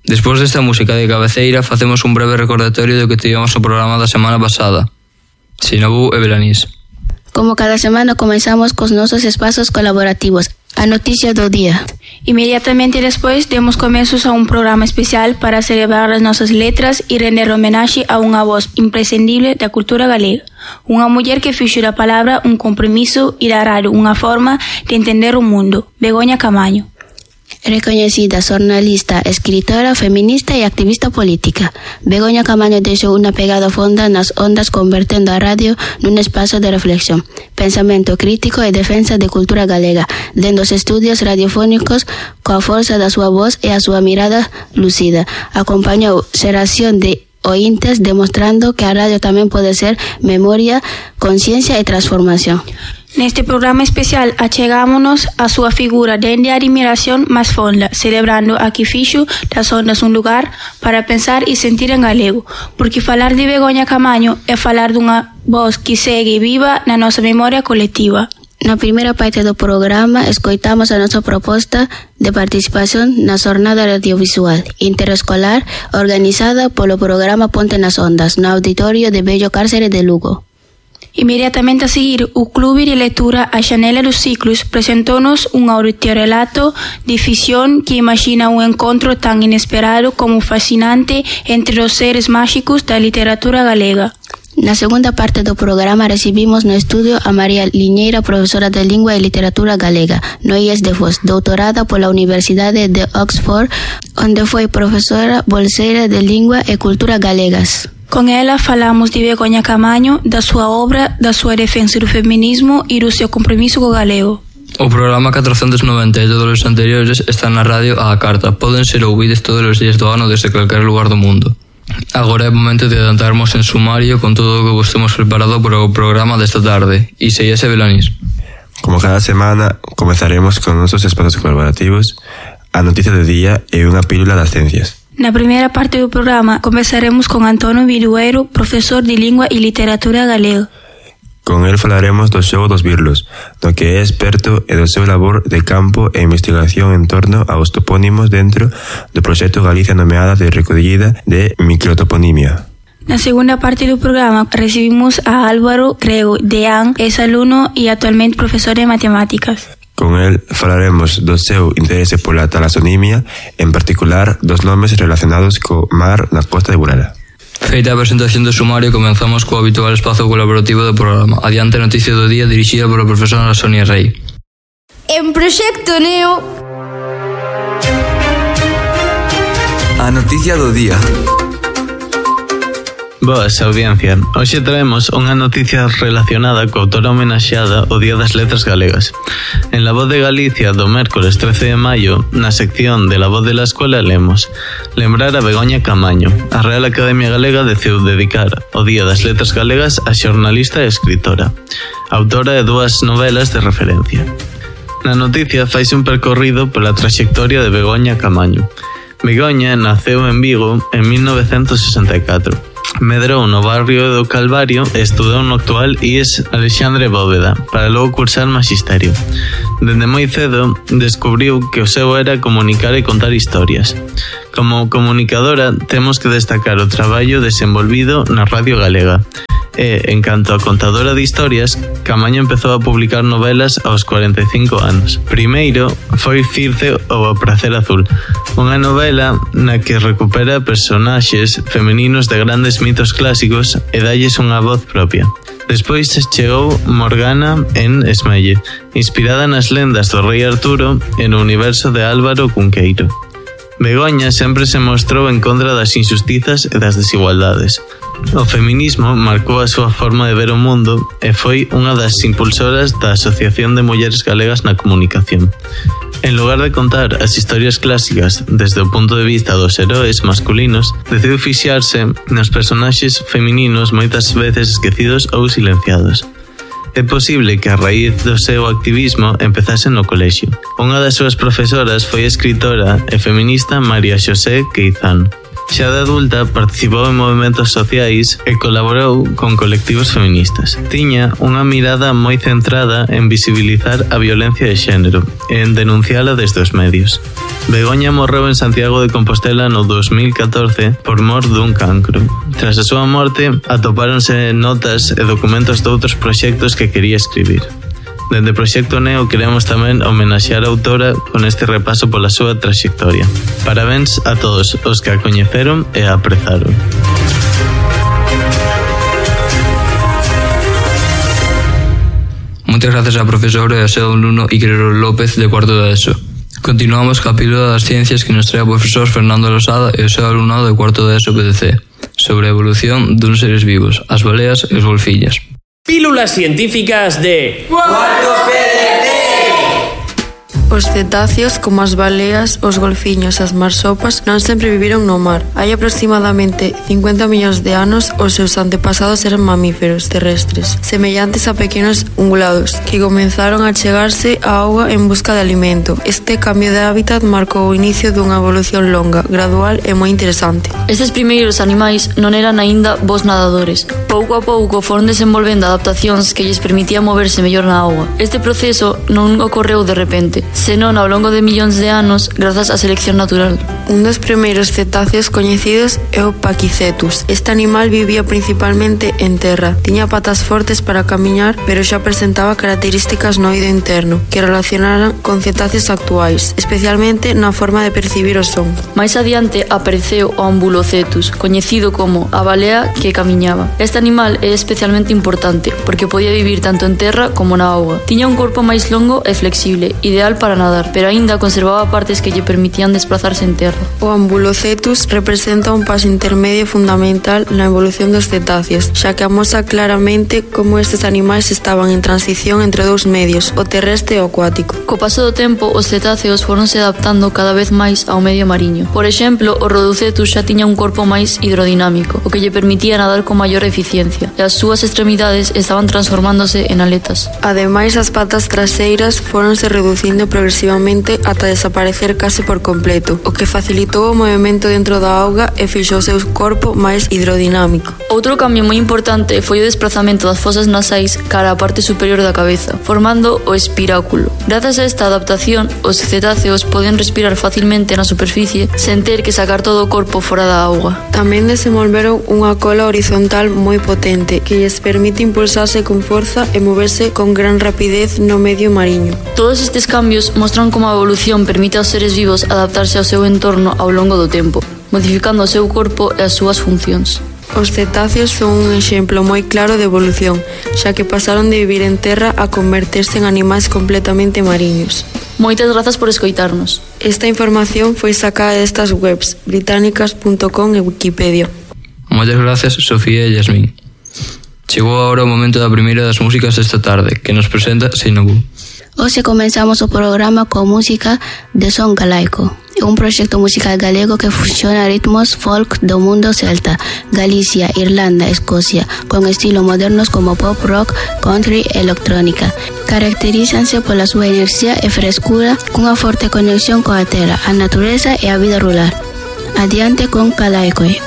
Despois desta música de cabeceira, facemos un breve recordatorio do que tivemos no programa da semana pasada. Sinabú e Belanís. Como cada semana comenzamos cos nosos espazos colaborativos, a noticia do día. Inmediatamente despois demos comezos a un programa especial para celebrar as nosas letras e render homenaxe a unha voz imprescindible da cultura galega. Unha muller que fixo da palabra un compromiso e da radio unha forma de entender o mundo, Begoña Camaño. Recoñecida xornalista, escritora, feminista e activista política, Begoña Camaño deixou unha pegada fonda nas ondas convertendo a radio nun espazo de reflexión, pensamento crítico e defensa de cultura galega, dende os estudios radiofónicos coa forza da súa voz e a súa mirada lucida. Acompañou xeración de ointes demostrando que a radio tamén pode ser memoria, conciencia e transformación. Neste programa especial achegámonos a súa figura dende a admiración máis fonda, celebrando a que fixo das ondas un lugar para pensar e sentir en galego, porque falar de Begoña Camaño é falar dunha voz que segue viva na nosa memoria colectiva. Na primeira parte do programa escoitamos a nosa proposta de participación na xornada radiovisual interescolar organizada polo programa Ponte nas Ondas no auditorio de Bello Cárcere de Lugo. Inmediatamente a seguir, o Clube de Lectura A Xanela dos Ciclos presentou-nos un audiorelato de ficción que imagina un encontro tan inesperado como fascinante entre os seres máxicos da literatura galega. Na segunda parte do programa recibimos no estudio a María Liñeira, profesora de Lingua e Literatura Galega, no IES de Foz, doutorada pola Universidade de Oxford, onde foi profesora bolseira de Lingua e Cultura Galegas. Con ela falamos de Begoña Camaño, da súa obra, da súa defensa do feminismo e do seu compromiso co galego. O programa 490 e todos os anteriores están na radio á carta. Poden ser ouvidos todos os días do ano desde calquer lugar do mundo. Agora é momento de adentrarmos en sumario con todo o que vos temos preparado para o programa desta tarde. E seguíase Belanís. Como cada semana, comezaremos con nosos espazos colaborativos, a noticia do día e unha pílula das ciencias. Na primeira parte do programa conversaremos con Antonio Vidueiro, profesor de Lingua e Literatura Galega. Con el falaremos do xogo dos birlos, do que é experto e do seu labor de campo e investigación en torno aos topónimos dentro do proxecto Galicia Nomeada de recollida de microtoponimia. Na segunda parte do programa recibimos a Álvaro Crego Deán, ex-alumno e actualmente profesor de matemáticas. Con el falaremos do seu interese pola talasonimia, en particular dos nomes relacionados co mar na costa de Burela. Feita a presentación do sumario, comenzamos co habitual espazo colaborativo do programa. Adiante a noticia do día dirixida pola profesora Sonia Rey. En Proxecto Neo. A noticia do día. Boas, audiencia. Hoxe traemos unha noticia relacionada co autora homenaxeada o Día das Letras Galegas. En La Voz de Galicia, do mércores 13 de maio, na sección de La Voz de la Escuela, lemos: lembrar a Begoña Camaño. A Real Academia Galega decidiu dedicar o Día das Letras Galegas a xornalista e escritora, autora de 2 novelas de referencia. Na noticia faise un percorrido pola traxectoria de Begoña Camaño. Begoña naceu en Vigo en 1964. Medrou no barrio do Calvario e estudou no actual IES Alexandre Bóveda para logo cursar magisterio. Dende moi cedo descubriu que o seu era comunicar e contar historias. Como comunicadora temos que destacar o traballo desenvolvido na Radio Galega. E, en canto a contadora de historias, Camaño empezou a publicar novelas aos 45 anos. Primeiro foi Circe ou O Prazer Azul, unha novela na que recupera personaxes femininos de grandes mitos clásicos e dalles unha voz propia. Despois chegou Morgana en Esmelle, inspirada nas lendas do rei Arturo e no universo de Álvaro Cunqueiro. Begoña sempre se mostrou en contra das injustizas e das desigualdades. O feminismo marcou a súa forma de ver o mundo e foi unha das impulsoras da Asociación de Mulleres Galegas na Comunicación. En lugar de contar as historias clásicas desde o punto de vista dos heróis masculinos, decidiu fixarse nos personaxes femininos moitas veces esquecidos ou silenciados. É posible que a raíz do seu activismo empezase no colexio. Unha das súas profesoras foi a escritora e feminista María Xosé Queizán. Xa de adulta participou en movimentos sociais e colaborou con colectivos feministas. Tiña unha mirada moi centrada en visibilizar a violencia de xénero e en denunciala desde os medios. Begoña morreu en Santiago de Compostela no 2014 por mor dun cancro. Tras a súa morte, atopáronse notas e documentos de outros proxectos que quería escribir. Dende Proxecto Neo queremos tamén homenaxear a autora con este repaso pola súa traxectoria. Parabéns a todos os que a coñeceron e a aprezaron. Moitas gracias á profesora e ao seu alumno Iker López de cuarto de ESO. Continuamos ca pílula das ciencias que nos trae o profesor Fernando Losada e o seu alumnado de cuarto de ESO PDC sobre a evolución duns seres vivos, as baleas e os golfiños. Pílulas científicas de cuarto PDC. Os cetáceos, como as baleas, os golfiños e as marsopas, non sempre viviron no mar. Hai aproximadamente 50 millóns de anos, os seus antepasados eran mamíferos terrestres, semellantes a pequenos ungulados, que comenzaron a chegarse á auga en busca de alimento. Este cambio de hábitat marcou o inicio dunha evolución longa, gradual e moi interesante. Estes primeiros animais non eran aínda bons nadadores. Pouco a pouco foron desenvolvendo adaptacións que lles permitían moverse mellor na auga. Este proceso non ocorreu de repente, senón ao longo de millóns de anos grazas á selección natural. Un dos primeiros cetáceos coñecidos é o Paquicetus. Este animal vivía principalmente en terra. Tiña patas fortes para camiñar, pero xa presentaba características no oído interno que relacionaran con cetáceos actuais, especialmente na forma de percibir o son. Mais adiante apareceu o Ambulocetus, coñecido como a balea que camiñaba. Este animal é especialmente importante porque podía vivir tanto en terra como na auga. Tiña un corpo máis longo e flexible, ideal para nadar, pero aínda conservaba partes que lle permitían desplazarse en terra. O Ambulocetus representa un paso intermedio fundamental na evolución dos cetáceos, xa que amosa claramente como estes animais estaban en transición entre dous medios, o terrestre e o acuático. Co paso do tempo, os cetáceos foronse adaptando cada vez máis ao medio mariño. Por exemplo, o Rhodocetus xa tiña un corpo máis hidrodinámico, o que lle permitía nadar con maior eficiencia, e as súas extremidades estaban transformándose en aletas. Ademais, as patas traseiras foronse reducindo progresivamente ata desaparecer case por completo, o que facilitou o movimento dentro da auga e fixou o seu corpo máis hidrodinámico. Outro cambio moi importante foi o desplazamento das fosas nasais cara á parte superior da cabeza, formando o espiráculo. Grazas a esta adaptación, os cetáceos poden respirar facilmente na superficie sen ter que sacar todo o corpo fora da auga. Tamén desenvolveron unha cola horizontal moi potente que lles permite impulsarse con forza e moverse con gran rapidez no medio mariño. Todos estes cambios mostran como a evolución permite aos seres vivos adaptarse ao seu entorno ao longo do tempo, modificando o seu corpo e as súas funcións. Os cetáceos son un exemplo moi claro de evolución, xa que pasaron de vivir en terra a converterse en animais completamente mariños. Moitas grazas por escoitarnos. Esta información foi sacada destas webs, británicas.com e Wikipedia. Moitas gracias, Sofía e Yasmín. Chegou agora o momento da primeira das músicas desta tarde, que nos presenta Sinobu. Hoxe comenzamos o programa con música de son galaico. É un proxecto musical galego que fusiona ritmos folk do mundo celta, Galicia, Irlanda, Escocia, con estilos modernos como pop, rock, country e electrónica. Caracterízanse pola súa enerxía e frescura, cunha forte conexión coa terra, a natureza e a vida rural. Adiante con Calaicoi.